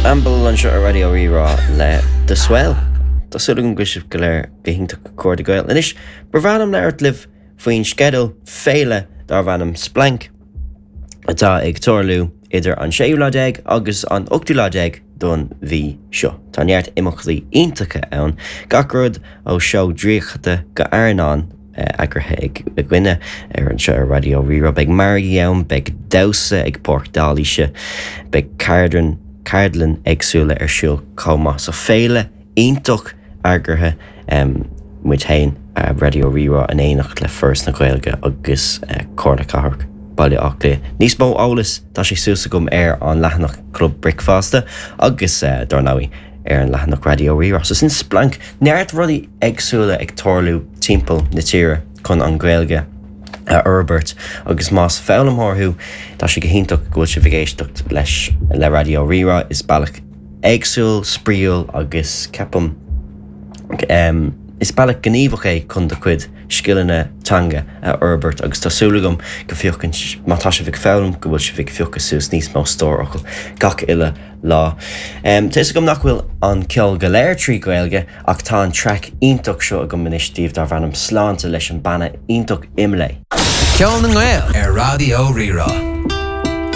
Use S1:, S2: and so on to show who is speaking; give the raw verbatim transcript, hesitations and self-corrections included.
S1: Amble anseo ar Raidió Rí-Rá le The Swell. Tá súil agam go bhfuil sibh go léir go hiontach a chairde Gael. Anois ba bhreá liom labhairt libh faoin sceideal féile darb ainm Splanc atá ag tarlú idir an séú lá déag agus an ochtú lá déag don mhí seo. Tá neart imeachtaí iontacha ann, gach rud ó seó draíochta go airneán eagraithe ag againne ar anseo ar Raidió Rí-Rá, beidh margaí ann, beidh damhsa ag Páirc Dálíse, beidh ceardlann ceardlann éagsúla ar siúl chomh maith. So féile iontach eagraithe um, muid féin uh, Raidió Rí-Rá in éineacht le Foras na Gaeilge agus uh, Comhairle Cathrach Baile Átha Cliath. Níos mó eolas tá sé suas agam ar an leathanach Club Bricfeasta agus uh, dar ndóigh ar an leathanach Raidió Rí-Rá. So sin Splanc neart rudaí éagsúla ag tarlú timpeall na tíre chun an Ghaeilge a fhorbairt agus más foghlaimeoir thú tá sé go hiontach go bhfuil sibh ag éisteacht leis le Raidió Rí-Rá is bealach éagsúil spraíúil agus ceapaim um, is bealach gníomhach é chun do chuid scileanna teanga a fhorbairt agus tá súil agam go bhféachann má tá sibh ag foghlaim go bhfuil sibh ag piocadh suas níos mó stór focal gach uile lá. Um, Tá agam nach bhfuil an ceol go léir trí Ghaeilge ach tá an track iontach seo agam anois daoibh darb ainm Sláinte leis an banna iontach Imlé.
S2: Ceol na nGael ar Raidió Rí-Rá.